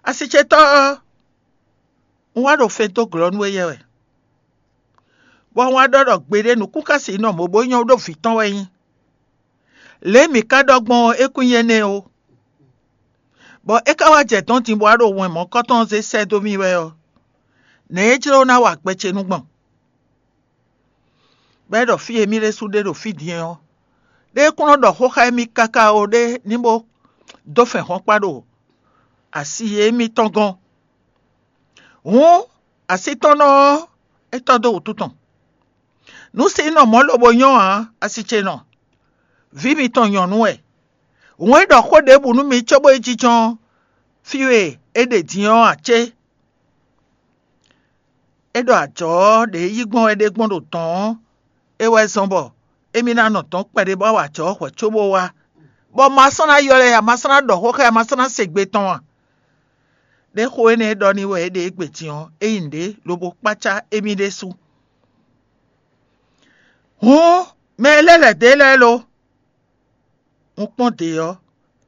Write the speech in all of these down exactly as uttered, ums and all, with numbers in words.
Asicetɔ́ ɔ́, un wá ɖo fɛn dó glɔ́ nú éyɛ́ wɛ, bɔ un wá ɖɔ ɖɔ gbeɖé nǔkúnkási nɔ mɔ̌ bó nyɔ́ ɖó vǐ tɔn wɛ nyí. Lě e mǐ ka ɖɔ gbɔn ɔ́, é kún nyí énɛ́ ó. Bɔ é ka wá jɛ dɔ̌n din bó wá ɖo wɛn mɔ̌kɔ́tɔn ɔ́ zé sɛ́ dó mì wɛ ɔ́, nɛ̌ é jló ná wa gbɛ ce nú gbɔn? Bɔ é ɖɔ fí e mì ɖésú ɖe ɖo fí din ɔ́, ɖé kún nɔ ɖɔ xó xá émí káká ó, ɖé ní bó dó fɛn hɔn kpa ɖo asi émítɔn gɔ́n. Hǔn, asi tɔn nɔ ɔ́, é tɔ́ dó wǔtu tɔn. Nǔ si nɔ mɔ̌ lobo nyɔ́ ǎ, asi ce nɔ. Vǐ mitɔn nyɔ̌nu wɛ. Hǔn é ɖɔ xó ɖěbǔ nú mi cóbó yi jínjɔ́n fí e é ɖe din ɔ́ ǎ cé? É ɖɔ ajɔ̌ ɔ́ ɖě yí gbɔn wɛ ɖé gbɔn ɖo dɔ̌n ɔ́, é wɛ zɔ́n bɔ émí ná nɔ dɔ̌n kpɛɖé bó wá wa ajɔ̌ ɔ́ hwɛ̌ cóbó wá, bɔ ma sɔ́ ná ylɔ́ ɛ ǎ, ma sɔ́ ná ɖɔ xó xá ɛ, ma sɔ́ ná se gbe tɔn a? Ɖé xó énɛ́ e ɖɔ n'i wɛ é ɖe égbé din ɔ́, é nyí nǔɖé lobo kpácá émí ɖésú. Hǔn, mɛ e lɛ́ lɛ̌ dó e lɛ́ɛ lo? Un kpɔ́n dě ɔ́,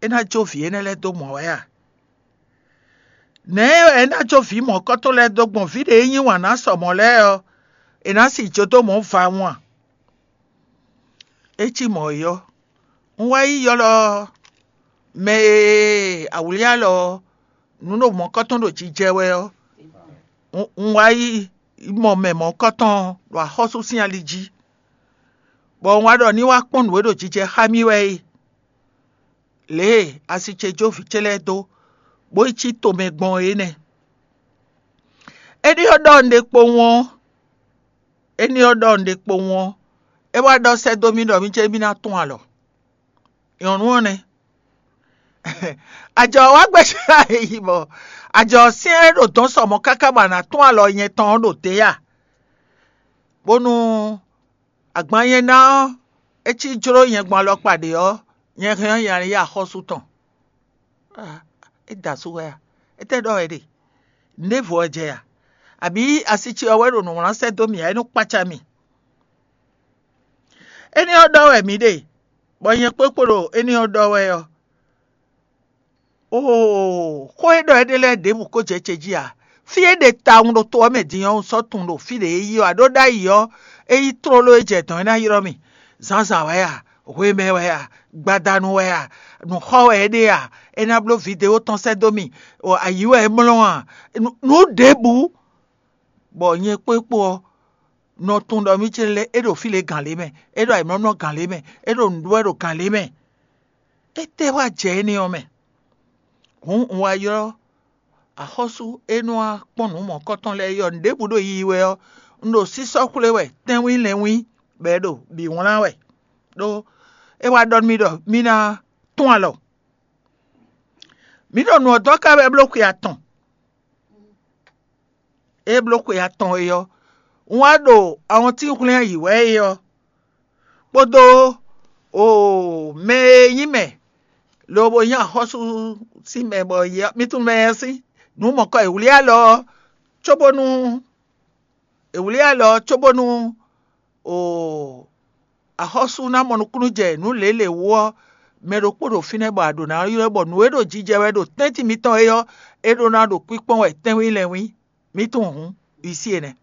é ná jó vǐ énɛ́ lɛ́ɛ dó mɔ̌ wɛ a? Nɛ̌ wɛ é ná jó vǐ mɔ̌kɔ́tɔn lɛ́ɛ dó gbɔn vǐ ɖě e yí wǎn ná sɔ mɔ̌ lɛ́ɛ ɔ́, è nǎ si jó dó mɔ̌ vawun a? É cí mɔ̌ é ɔ́, un wá yi ylɔ́ mɛ e awlí alɔ ɔ́, nǔ ɖo mɔ̌kɔ́tɔn ɖo jijɛ wɛ ɔ́, un wá yi mɔ mɛ mɔ̌kɔ́tɔn ɖo axɔ́sú sín ali jí, bɔ un wá ɖɔ ní wá kpɔ́n nǔ e ɖo jijɛ xá mì wɛ é. Lě e asi ce jó vǐ ce lɛ́ɛ dó, bó yi cí tomɛ gbɔn é nɛ́. É ɖyɔ́ ɖɔ un ɖe kpowun ɔ́, é ɖyɔ́ ɖɔ un ɖe kpowun ɔ́, é wá ɖɔ sɛ́ dó mì ɖɔ mì cé mì ná tún alɔ. Nyɔ̌nu ɔ́ nɛ́. Ajɔ wá gbɛ́ yi bɔ ajɔ syɛ́n e ɖo dɔ̌n sɔ mɔ̌ káká bɔ a nǎ tún alɔ nyɛ tɔn ɔ́ ɖo dě a? Bónú agban nyɛ ná ɔ́, é cí jló nyɛ gbɔn alɔkpa ɖě ɔ́, nyɛ hɛn ɔ́ nyɛ yi axɔ́sú tɔn. É da asú wɛ a? Étɛ́ ɖɔ wɛ ɖe? Nǔɖévo ɔ́ jɛ a? Abǐ asi ce ɔ́ wɛ ɖo nǔ wlán sɛ́ dó mì ǎ, é nú kpácá mì? Énɛ́ ɔ́ ɖɔ wɛ mǐ ɖe, bɔ nyɛ kpókpo ɖo énɛ́ ɔ́ ɖɔ wɛ ɔ́. Oo, xó e ɖɔ é ɖe lɛ́ɛ ɖěbǔ ko jɛ ce jí ǎ. Fí e ɖe tawun ɖo to ɔ́ mɛ din ɔ́, un sɔ́ tunwun ɖo fí ɖě é yi ɔ́, a ɖó ɖ'ayǐ ɔ́, é nyí tlóló e jɛ dɔ̌n é ná ylɔ́ mì. Zǎnzǎn wɛ a? Hwemɛ wɛ a? Gbadanu wɛ a? Nǔxɔ wɛ é ɖe a? É ná bló vidéo tɔn sɛ́ dó mì. Ayǐ wɛ é mlɔ́ a? Nǔ ɖěbǔ, bɔ nyɛ kpó é kpó ɔ́, nɔ tunwun ɖɔ mì ce lɛ́ɛ é ɖo fí lě gǎn lě mɛ, é ɖo ayǐmlɔ́mlɔ́ gǎn lě mɛ, é ɖo nǔɖuɖu wɛ ɖo gǎn lě mɛ. Étɛ́ wá jɛ énɛ́ ɔ́ mɛ? Hǔn un wá ylɔ́ axɔ́sú e nɔ wá kpɔ́n nǔ mɔ̌kɔtɔn lɛ́ɛ yi ɔ́, nǔɖěbǔ ɖo yiyi wɛ ɔ́, un ɖo sísɔ́ xwlé wɛ tɛ́nwín lɛ́nwín, bɔ é ɖo bǐ wlán wɛ, ɖó é wá ɖɔ nú mì ɖɔ mì ná tún alɔ. Mǐ ɖo nǔ ɔ́ dɔn ká wɛ bló xwe atɔn. É bló xwe atɔn é ɔ́, un wá ɖo awɔntín hwlɛ́n ayǐ wɛ é ɔ́, kpódó oo mɛ e nyí mɛ lobo nyí axɔ́sú sín mɛ bɔ mì tunwun mɛ ɔ́ sín nǔ mɔ̌kɔ e wlí alɔ ɔ́, cóbónú è wlí alɔ ɔ́ cóbónú oo axɔ́sú ná mɔ nukúnnú jɛ nǔ lělě wú ɔ́, mɛ ɖokpó ɖo fínɛ́ bɔ a ɖǒ ná ylɔ́ bɔ nǔ e ɖo jijɛ wɛ ɖo tɛ́ntin mitɔn é ɔ́, é ɖó ná ɖo kpíkpɔ́n wɛ tɛ́nwín lɛ́nwín. Mǐ tunwun hǔn, isi enɛ́.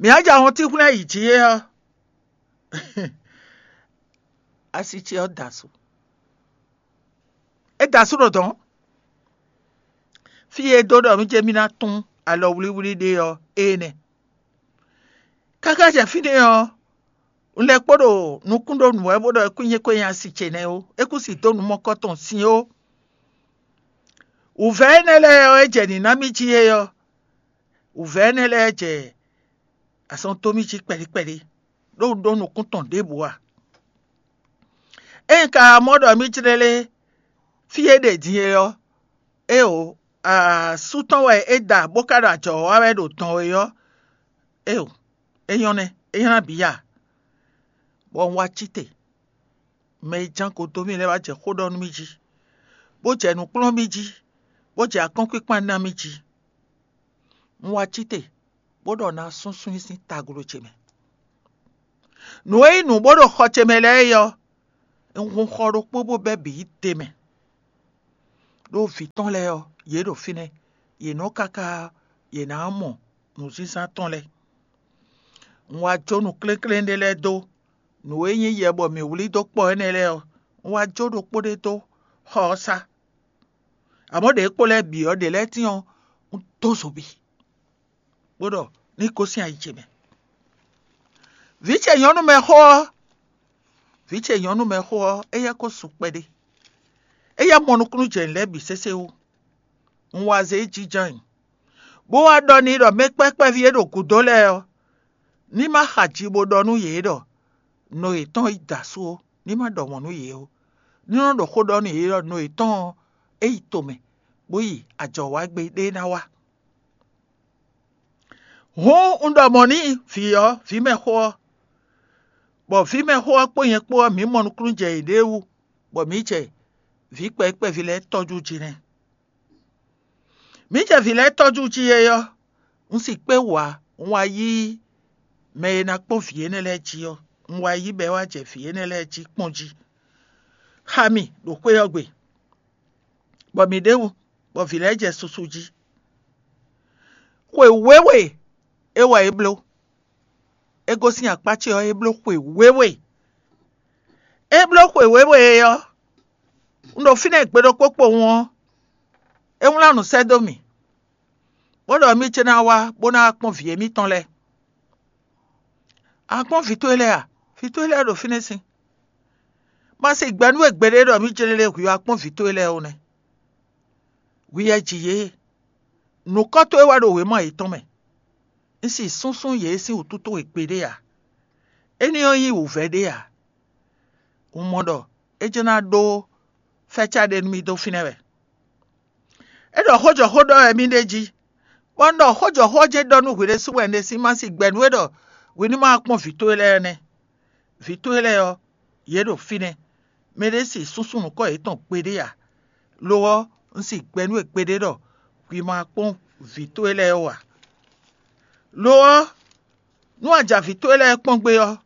Mǐ á jɛ ahɔntín hwlɛ́n yi jǐ é ɔ́, asi ce ɔ́ da asú. É da asú ɖo dɔ̌n. Fí e é dó ɖɔ mì ce mì ná tún alɔ wlíwlí ɖe ɔ́, é nɛ́. Káká jɛ fínɛ́ ɔ́, un lɛ́ kpo ɖo nukún ɖó nǔ wɛ bó ɖɔ é kún nyí kó nyí asi ce nɛ́ ó; é kún si dó nǔ mɔkɔ́ tɔn sin ó. Wǔvɛ́ énɛ́ lɛ́ɛ ɔ́, é jɛ nǐ ná mì jí é ɔ́, wǔvɛ́ énɛ́ lɛ́ɛ jɛ azɔn dó mì jí kpɛɖí kpɛɖí, ɖó un ɖó nukún tɔn ɖěbǔ ǎ. Ényí ka mɔ ɖɔ mì jlɛ́ lé fí e ɖe din é ɔ́, éeǒ, asú tɔn wɛ é da bó ka ɖo ajɔ̌ wa wɛ ɖo dɔn é ɔ́, éeǒ, é nyɔ́ nɛ́, é nyɔ́ ná bǐ ya. Bɔ un wá cí te, mɛ e ján go dó mì lɛ́ɛ wá jɛ xó ɖɔ nú mì jí, bó jɛ nǔ kplɔ́n mì jí, bó jɛ akɔ́nkpinkpan ná mì jí. Un wá cí te, bó ɖɔ ná súnsún i sín taglo ce mɛ. Nǔ e nyí nǔ bó ɖo xɔ ce mɛ lɛ́ɛ é ɔ́, un hun xɔ ɖokpó bó bɛ́ bǐ yi te mɛ. ɖó vǐ tɔn lɛ́ɛ ɔ́, yě ɖo fínɛ́; yě nɔ káká yě ná mɔ nǔzínzán tɔn lɛ́ɛ. Un wá jó nǔ kléklé ɖé lɛ́ɛ dó, nǔ e nyí yɛ bɔ mǐ wlí dó kpɔ énɛ́ lɛ́ɛ ɔ́, un wá jó ɖokpó ɖé dó xɔ ɔ́ sá. Amɔ̌, ɖě kpo lɛ́ɛ bǐ ɔ́, ɖě lɛ́ɛ tíin ɔ́, un dó zobi, bó ɖɔ ní gosín ayi ce mɛ. Vǐ ce nyɔ̌nu mɛxó ɔ́, vǐ ce nyɔ̌nu mɛxó ɔ́, éyɛ́ ko su kpɛɖé; éyɛ́ mɔ nukúnnú jɛ nǔ lɛ́ɛ bǐ sésé wú. Un wá zé jínjɔ́n nyi, bó wá ɖɔ n'i ɖɔ mɛ kpɛ́kpɛ́ví e ɖo gǔdo lɛ́ɛ ɔ́, ní ma xa ji bó ɖɔ nú yě ɖɔ nɔ yětɔn yi da asú ó; ní ma ɖɔ mɔ̌ nú yě ó; ní nɔ ɖɔ xó ɖɔ nú yě ɖɔ nɔ yětɔn ɔ́, é yi tomɛ, bó yi ajɔ̌wágbe ɖé ná wá. Hǔn un ɖɔ mɔ̌ n'i vǐ ɔ́, vǐ mɛxó ɔ́, bɔ vǐ mɛxó ɔ́ kpó nyɛ kpó ɔ́, mǐ mɔ nukúnnú jɛ yěɖée wú, bɔ mǐ jɛ vǐ kpɛví kpɛví lɛ́ɛ tɔ́jú jí nɛ́. Mǐ jɛ vǐ lɛ́ɛ tɔ́jú jí é ɔ́, un si kpé wǎ, un wá yí mɛ e ná kpɔ́n vǐ énɛ́ lɛ́ɛ jí ɔ́, un wá yí bɔ é wá jɛ vǐ énɛ́ lɛ́ɛ jí kpɔ́n jí xá mì ɖo xwé ɔ́ gbe, bɔ mǐ ɖ'é wú, bɔ vǐ lɛ́ɛ jɛ susu jí. Xwe wěwe é wɛ é bló; é gosín akpá ce ɔ́, é bló xwe wěwe. É bló xwe wěwe é ɔ́, un ɖo fínɛ́ gbe ɖokpó kpowun ɔ́, é wlán nǔ sɛ́ dó mì, bó ɖɔ mì ce ná wá bó ná wá kpɔ́n vǐ émítɔn lɛ́ɛ. A kpɔ́n vǐ towe lɛ́ɛ a? Vǐ towe lɛ́ɛ ɖo fínɛ́ sín. Ma si gbɛ nú we gbeɖé ɖɔ mì jlé lé hwǐ wá kpɔ́n vǐ towe lɛ́ɛ ó nɛ́. Hwi wɛ ji yě; nǔkɔ́ towe wɛ ɖo wěma yětɔn mɛ. Un si súnsún yě sín wǔtu towe gbeɖé ǎ; énɛ́ ɔ́ nyí wǔvɛ́ ɖé ǎ. Un mɔ ɖɔ é jɛ́n ná ɖó fɛ́cá ɖé nú mì dó fínɛ́ wɛ. É ɖɔ xó jɔ xó ɖɔ wɛ mì ɖe jí, bɔ un ɖɔ xó jɔ xó ɔ́ jɛ́n ɖɔ nú hwi ɖésú wɛ un ɖe sín ma si gbɛ nú we ɖɔ hwi ní ma kpɔ́n vǐ towe lɛ́ɛ nɛ́. Vǐ towe lɛ́ɛ ɔ́, yě ɖo fínɛ́; mɛɖé si súnsún nǔkɔn yětɔn gbeɖé ǎ; lo ɔ́, un si gbɛ nú we gbeɖé ɖɔ hwi ma kpɔ́n vǐ towe lɛ́ɛ ó ǎ. Lo ɔ́, nú a ja vǐ towe lɛ́ɛ kpɔ́n gbé ɔ́,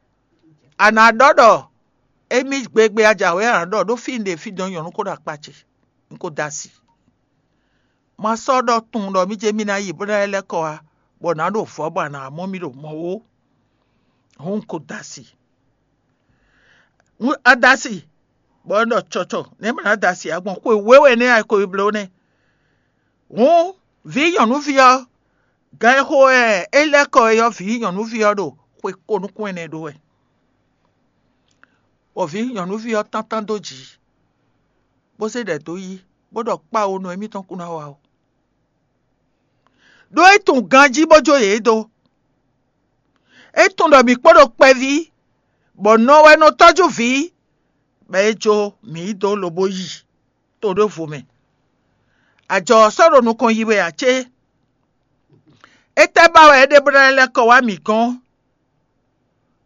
a nǎ ɖɔ ɖɔ émí gbegbe a ja wɛ a nǎ ɖɔ ɖó fí un ɖe fí dɔn nyɔ̌nu ko ɖo akpá ce, un ko da asi. Ma sɔ́ ɖɔ tunwun ɖɔ mì jɛ mì ná yi bó ná lɛ́ kɔ wá, bɔ nǎ ɖo vɔ̌ bɔ a nǎ mɔ mì ɖo mɔ̌ ó. Hǔn un ko da asi. A da asi, bɔ un ɖɔ cɔcɔ nɛ̌ ma ná da asi ǎ gbɔn xwe wěwe nɛ́ a ko yi bló nɛ́. Hǔn vǐ nyɔ̌nuví ɔ́, gan e xo wɛ é lɛ́ kɔ é ɔ́, vǐ nyɔ̌nuví ɔ́ ɖo xwe ko nukún ɛnɛ ɖó wɛ, bɔ vǐ nyɔ̌nuví ɔ́ tántán dó jǐ, bó zé ɖɛ dó yí, bó ɖɔ kpáwo nɔ émítɔn kún ná wa ó. Ɖó é tunwun ganjí bó jó yě dó. É tunwun ɖɔ mǐ kpo ɖo kpɛví, bɔ nɔ wɛ nɔ tɔ́jú vǐ, bɔ é jó mǐ yi dó lobo yi to ɖěvo mɛ. Ajɔ ɔ́ sɔ́ ɖo nukɔn yi wɛ ǎ cé? Étɛ́ ba wɛ é ɖe bó ná lɛ́ kɔ wá mǐ gɔ́n?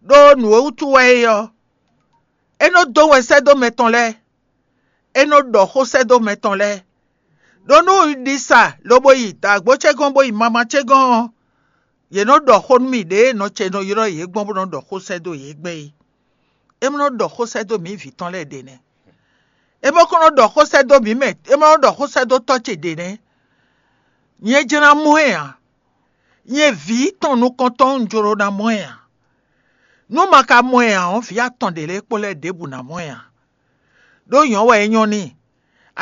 Ɖó nǔ e wútu wɛ é ɔ́, é nɔ dó wɛn sɛ́ dó mɛ tɔn lɛ́ɛ; é nɔ ɖɔ xó sɛ́ dó mɛ tɔn lɛ́ɛ. Ɖó nú un ɖi sa lobo yi dǎgbó ce gɔ́n bó yi mama ce gɔ́n ɔ́, yě nɔ ɖɔ xó nú mì ɖěe nɔ ce nɔ ylɔ́ yě gbɔn bó nɔ ɖɔ xó sɛ́ dó yě gbɛn é. É ma nɔ ɖɔ xó sɛ́ dó mǐ vǐ tɔn lɛ́ɛ ɖě nɛ́. É ma ko nɔ ɖɔ xó sɛ́ dó mǐ mɛ, é ma nɔ ɖɔ xó sɛ́ dó tɔ́ ce ɖě nɛ́. Nyɛ jlá mɔ ɛ ǎ. Nyɛ vǐ tɔn nukɔntɔn un jló ná mɔ ɛ ǎ. Nú ma ka mɔ ɛ ǎ ɔ́, vǐ atɔn ɖě lɛ́ɛ kpó lɛ́ɛ ɖěbǔ ná mɔ ɛ ǎ. Ɖó nyɔ̌ wɛ é nyɔ́ n'i;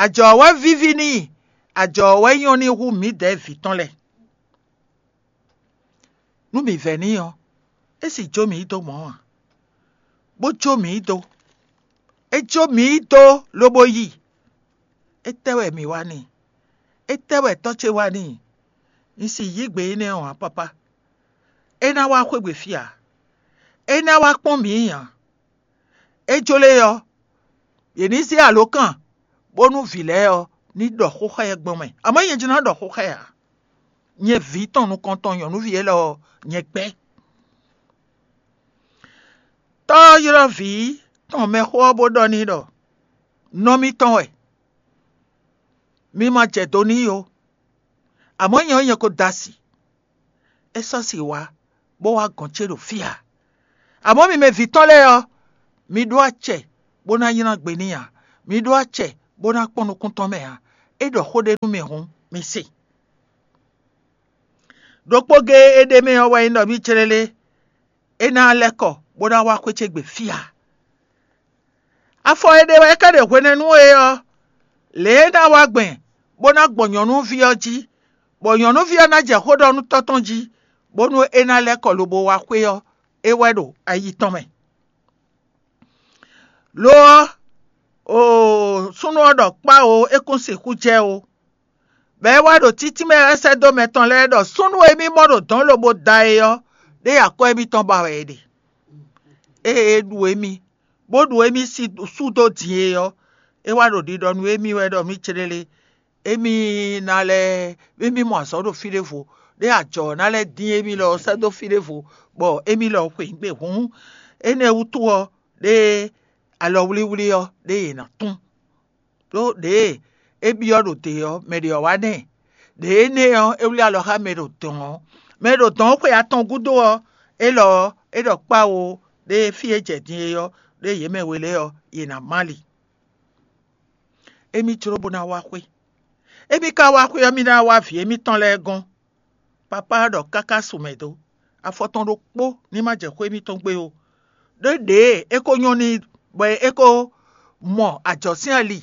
ajɔ wɛ víví n'i; ajɔ wɛ nyɔ́ n'i hú mǐdɛɛ vǐ tɔn lɛ́ɛ. Nú mǐ vɛ́ n'i ɔ́, é sì jó mǐ yi dó mɔ̌ ǎ, bó jó mǐ yi dó. É jó mǐ yi dó lobo yi. Étɛ́ wɛ mǐ wa n'i? Étɛ́ wɛ tɔ́ ce wa n'i? Un si yǐ gbe énɛ́ ɔ́ ǎ, papá. É ná wá xwé gbe fí ǎ; é ná wá kpɔ́n mǐ ǎ. É jló é ɔ́, yě ní zé alǒkan bónú vǐ lɛ́ɛ ɔ́ ní ɖɔ xó xá ɛ gbɔn mɛ. Amɔ̌ nyɛ jló ná ɖɔ xó xá ɛ ǎ. Nyɛ vǐ tɔn nukɔntɔn nyɔ̌nuví élɔ́ ɔ́, nyɛ gbɛ́. Tɔ́ ɔ́ ylɔ́ vǐ tɔn mɛxó ɔ́ bó ɖɔ n'i ɖɔ: Nɔ mitɔn wɛ; mi ma jɛ do n'i ó; amɔ̌ nyɛ ɔ́, nyɛ ko da asi. É sɔ́ si wá, bó wá gɔ̌n ce ɖo fí ǎ. Amɔ̌ mi mɛ vǐ tɔn lɛ́ɛ ɔ́, mi ɖó acɛ bó ná nylá gbe n'i ǎ; mi ɖó acɛ bó ná kpɔ́n nukún tɔn mɛ ǎ. É ɖɔ xó ɖé nú mì hǔn, mi se. Ɖokpó géé é ɖ'é mɛ ɔ́ wɛ nyí ɖɔ mì clélé é ná lɛ́ kɔ bó ná wá xwé ce gbe fí ǎ. Afɔ e ɖe wɛ é ka ɖe hwenɛ́nu é ɔ́, lě e é ná wá gbɛn bó ná gbɔn nyɔ̌nuví ɔ́ jí, bɔ nyɔ̌nuví ɔ́ ná jɛ xó ɖɔ nú tɔ́ tɔn jí, bónú é ná lɛ́ kɔ lobo wá xwé ɔ́, é wɛ ɖo ayi tɔn mɛ. Lo ɔ́, oo, súnnu ɔ́ ɖɔ kpá oo, é kún sixú jɛ ó. Bɔ é wá ɖo títí mɛ wɛ sɛ́ dó mɛ tɔn lɛ́ɛ ɖɔ súnnu e mì mɔ ɖo dɔ̌n lobo da é ɔ́, ɖé akɔ́ émítɔn ba wɛ é ɖe. Ée é ɖu émí, bó ɖu émí sú dó din é ɔ́, é wá ɖo ɖiɖɔ nú émí wɛ ɖɔ mì céɖélé, émí ná lɛ́ émí mɔ azɔ̌ ɖo fí ɖěvo, ɖé ajɔ ɔ́ ná lɛ́ dín émí lɔ sɛ́ dó fí ɖěvo, bɔ émí lɔ xwe nǔ gbe hǔn. Énɛ́ wútu ɔ́, ɖé alɔwlíwlí ɔ́, ɖé yě ná tún. Ɖó ɖěe é byɔ́ ɖo te ɔ́, mɛ ɖě ɔ́ wá nɛ́. Ɖě énɛ́ ɔ́, é wlí alɔ xá mɛ ɖo dɔ̌n ɔ́. Mɛ ɖo dɔ̌n ɔ́ xwe atɔn gúdo ɔ́, élɔ́ ɔ́, é ɖɔ kpáwo ɖé fí e jɛ din é ɔ́, ɖé yě mɛ we lɛ́ɛ ɔ́, yě ná má li. Émí jló bó ná wá xwé. Émí ka wá xwé ɔ́, mì ná wá vǐ émítɔn lɛ́ɛ gɔ́n. Papá ɔ́ ɖɔ káká su mɛ dó, afɔ tɔn ɖokpó ní ma jɛ xwé émítɔn gbe ó. Ɖó ɖěe é ko nyɔ́ n'i bɔ é ko mɔ ajɔ̌ sín ali,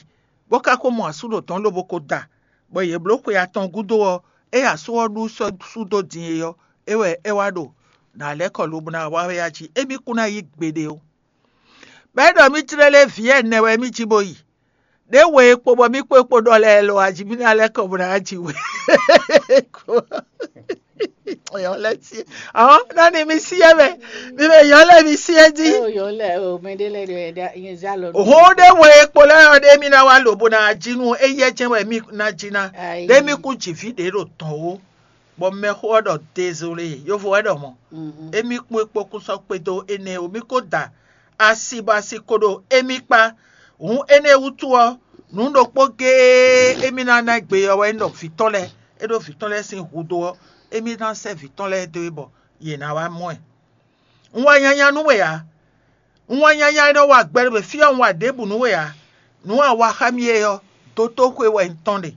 bó ka ko mɔ asú ɖo dɔ̌n lobo ko da, bɔ yě bló xwe atɔn gúdo ɔ́, ée asú ɔ́ ɖu sɔ́ sú dó din é ɔ́, é wɛ é wá ɖo nǎ lɛ́ kɔ lobo ná wá wɛ a jí, émí kún ná yí gbeɖé ó. Bɔ é ɖɔ mì tlélé vǐ ɛnɛ wɛ mì jí bó yi. Ɖě we e kpo bɔ mì kpó e kpo ɖɔ lɛ́ɛ lɔ aji mì ná lɛ́ kɔ bó ná ji we. Yɔn lɛ́ sí ɔ́ ná ni mi sí ɛ mɛ, mi mɛ yɔn lɛ́ mi sí ɛ jí. Ó yɔn lɛ o mɛ ɖé lɛ ɖe ɖa yẹn zá lɔ. Hɔn ɖé we e kpo lɛ́ɛ ɔ́ ɖé mì ná wá lǒ bó ná ji nú éyɛ́ jɛ́n wɛ mì ná ji ná. Ɖé mì kú jǐ fí ɖě ɖo tɔn ó. Bɔ mɛxó ɔ́ ɖɔ dezolé, yovo wɛ ɖɔ mɔ̌. Émí kpó é kpó kún sɔ́ kpédó énɛ́ ó, mì ko da asi bɔ asi ko ɖo émí kpá. Hǔn énɛ́ wútu ɔ́, nǔ ɖokpó géé émí ná ná gbe ɔ́ wɛ nyí ɖɔ vǐ tɔn lɛ́ɛ, é ɖó vǐ tɔn lɛ́ɛ sín hudó ɔ́, émí ná sɛ́ vǐ tɔn lɛ́ɛ dó é bɔ yě ná wá mɔ ɛ. Un wa nyanya nú we ǎ. Un wa nyanya e nɔ wa gbɛ ɖo fí ɔ́, un wa ɖěbǔ nú we ǎ. Nǔ e a wa xá mì é ɔ́, dotóxwé wɛ un tɔ́n ɖe.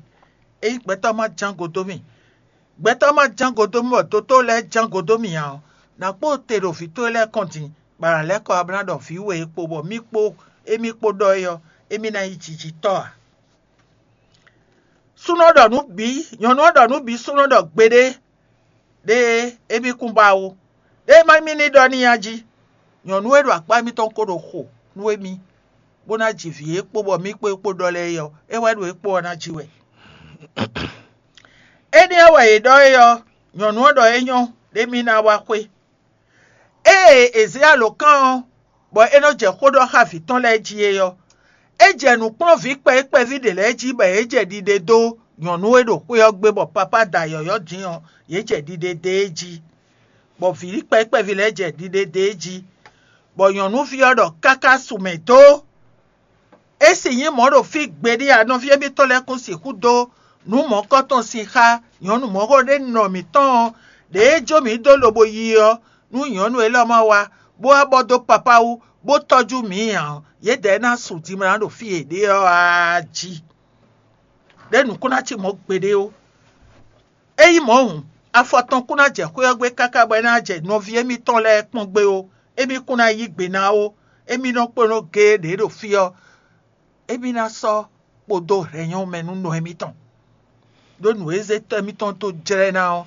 Ényí gbɛtɔ́ ma ján go dó mì, gbɛtɔ́ ma ján go dó mì bɔ dotó lɛ́ɛ ján go dó mì ǎ ɔ́, nǎ kpó te ɖo vǐ towe lɛ́ɛ kɔn din, bɔ a nǎ lɛ́ kɔ wá bó ná ɖɔ vǐ we e kpo bɔ mì kpó émí kpó ɖɔ é ɔ́, émí ná nyí jijitɔ́ ǎ. Súnnu ɔ́ ɖɔ nǔ bǐ, nyɔ̌nu ɔ́ ɖɔ nǔ bǐ súnnu ɔ́ ɖɔ gbeɖé, ɖé émí kún ba ó. Ɖé má mì ní ɖɔ n'i a jí. Nyɔ̌nu e ɖo akpá mitɔn ko ɖo xo nú émí, bó ná ji vǐ e kpo bɔ mì kpó é kpo ɖɔ lɛ́ɛ é ɔ́, é wɛ ɖo é kpo ɔ́ ná ji wɛ. Énɛ́ ɔ́ wɛ è ɖɔ é ɔ́, nyɔ̌nu ɔ́ ɖɔ é nyɔ́ ɖé mì ná wá xwé. Ée è zě alǒkan ɔ́, bɔ é nɔ jɛ xó ɖɔ xá vǐ tɔn lɛ́ɛ jí é ɔ́, é jɛ nǔ kplɔ́n vǐ kpɛví kpɛví ɖě lɛ́ɛ jí bɔ yě jɛ ɖiɖe dó nyɔ̌nu e ɖo xwé ɔ́ gbe bɔ papá da yɔ̌yɔ́ din ɔ́, yě jɛ ɖiɖe dó é jí, bɔ vǐ kpɛví kpɛví lɛ́ɛ jɛ ɖiɖe dó é jí, bɔ nyɔ̌nuví ɔ́ ɖɔ káká su mɛ dó. É sì nyí mɔ̌ ɖo fí gbeɖé ǎ, nɔví émítɔn lɛ́ɛ kún sixú dó nǔ mɔ̌kɔ́tɔn sin xá nyɔ̌nu mɔ̌xo ɖé nɔ mǐtɔn ɔ́, ɖěe jó mǐ dó lobo yi ɔ́, nú nyɔ̌nu élɔ́ ma wá, bó wá bɔ dó papá wú, bó tɔ́jú mǐ ǎ ɔ́, yědɛɛ ná su dimlá ɖo fí e è ɖe ɔ́ aa jí. Ɖé nǔ kún ná cí mɔ̌ gbeɖé ó. Ényí mɔ̌ hǔn, afɔ tɔn kún ná jɛ xwé ɔ́ gbe káká bɔ é ná jɛ nɔví émítɔn lɛ́ɛ kpɔ́n gbé ó, émí kún ná yí gbe ná ó, émí nɔ kplɔ́n géé ɖě ɖo fí ɔ́, émí ná sɔ́ kpodó hɛ̌nyɔ́ mɛ nú nɔ émítɔn. Ɖó nǔ e zé tɔ́ émítɔn dó jlɛ́ ná ɔ́,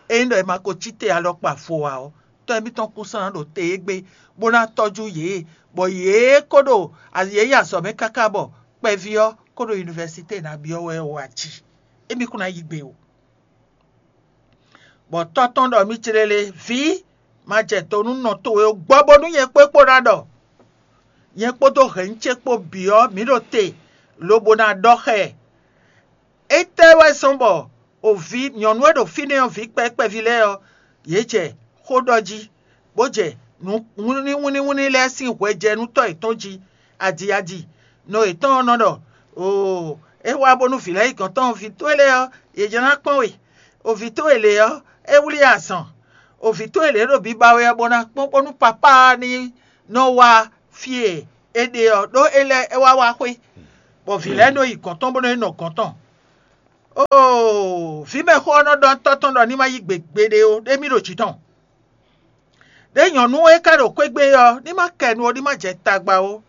ényí ɖɔ è ma ko cí te alɔkpa vo ǎ ɔ́, tɔ́ émítɔn kún sɔ́ ná ɖo te égbé, bó ná tɔ́jú yě, bɔ yě ko ɖo yě yi azɔ̌ mɛ káká bɔ kpɛví ɔ́ ko ɖo univɛsité ná byɔ́ wɛ ɔ́ wá jí. Émí kún ná yí gbe o. Bɔ tɔ́ tɔn ɖɔ mì céɖélé, vǐ, ma jɛ do nú nɔ towe ó, gbɔ bónú nyɛ kpó é kpó ná ɖɔ. Nyɛ kpódó hɛ̌nnu ce kpó bǐ ɔ́, mǐ ɖo te, lobo ná ɖɔ xá ɛ. Étɛ́ wɛ zɔ́n bɔ o vǐ nyɔ̌nu e ɖo fínɛ́ ɔ́, vǐ kpɛví kpɛví lɛ́ɛ ɔ́, yě jɛ xó ɖɔ jí, bó jɛ nǔ wínníwínní lɛ́ɛ sín hwɛ jɛ nú tɔ́ yětɔn jí, adi adi. Nɔ yětɔn ɔ́ nɔ ɖɔ, oo, é wá bónú vǐ lɛ́ɛ yi gɔ̌n tɔn vǐ towe lɛ́ɛ ɔ́, yě jló ná kpɔ́n we. O vǐ towe lě ɔ́, é wlí azɔn. O vǐ towe lě ɖo biba wɛ ɔ́, bó ná kpɔ́n bónú papá ɔ́ ní nɔ wá fí e é ɖe ɔ́, ɖó é lɛ́ é wá wá xwé, bɔ vǐ lɛ́ɛ nɔ yi gɔ̌n tɔn bó nɔ yi nɔ gɔ̌n tɔn. Vǐ mɛxó ɔ́ nɔ ɖɔ tɔ́ tɔn ɖɔ ní ma yí gbe gbeɖé ó, ɖé mì ɖo jǐ tɔn. Ɖé nyɔ̌nu e ka ɖo xwé gbe ɔ́, ní ma kɛ nu ó, ní ma jɛ tagba ó.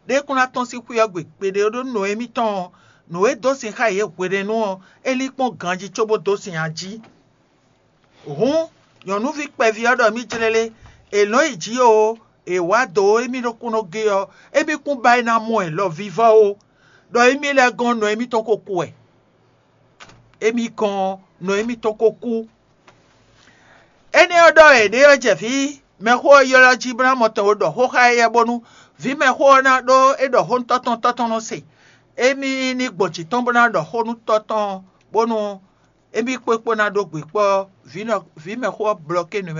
Ɖé kún ná tɔ́n sín xwé ɔ́ gbe gbeɖé ó, ɖó nǔ émítɔn ɔ́, nǔ e dó sin xá yě hwenɛ́nu ɔ́, é lín kpɔ́n ganjí cóbó dó sin ají. Hǔn, nyɔ̌nuví kpɛví ɔ́ ɖɔ mì jlélé, è nɔ̌ yi jǐ o, è wǎ dǒ émí ɖokúnɔ gé ɔ́, émí kún ba é ná mɔ ɛ lɔ vívɔ́ ó, ɖɔ émí lɛ́ɛ gɔ́n nɔ émítɔn ko kú wɛ. Émí gɔ́n nɔ émítɔn ko kú. Énɛ́ ɔ́ ɖɔ è ɖě ɔ́ jɛ vǐ mɛxó ɔ́ ylɔ́ jí bó ná mɔ tɔn ɖɔ xó xá éyɛ́ bónú vǐ mɛxó ɔ́ ná ɖó é ɖɔ xó nú tɔ́ tɔn, tɔ́ tɔn nɔ se. Émí ní gbɔn jǐ tɔn bó ná ɖɔ xó nú tɔ́ tɔn bónú émí kpó é kpó ná ɖó gbe kpɔ́ vǐ mɛxó ɔ́ blɔké nǔ mɛ.